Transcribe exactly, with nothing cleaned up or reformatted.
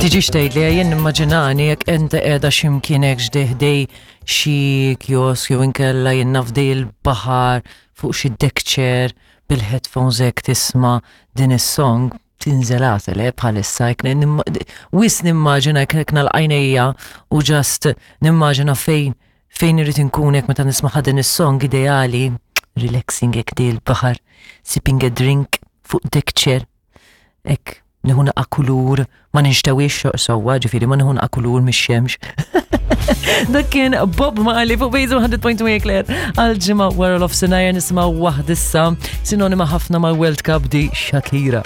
Tiġi xtejt li jien nimmaġinani jekk inti qiegħda x'imkien hekk ħdejn xi kiosk jew inkella jien naf ħdejn il-baħar fuq xi deck chair bil-headphones hekk tisma' din is-song tinżel għasel eh, bħalissa jekk nimma- wisq nimmaġina jekk nagħlaq għajnejja u just nimmaġina fejn fejn irrid inkun hekk meta nisma' din is-song ideali relaxing hekk ħdejn il-baħar sipping a drink fuq deck chair hekk nieħu naqa kulur, ma ninxtewix sewwa, ġifieri ma nieħu naqa kulur mix-xemx. Dak kien Bob Marley fuq Bejzu mija punt tnejn Eclair għal ġimgħa wara nofsinhar nisimgħu waħda issa sinonima ħafna mal-World Cup di Shakira.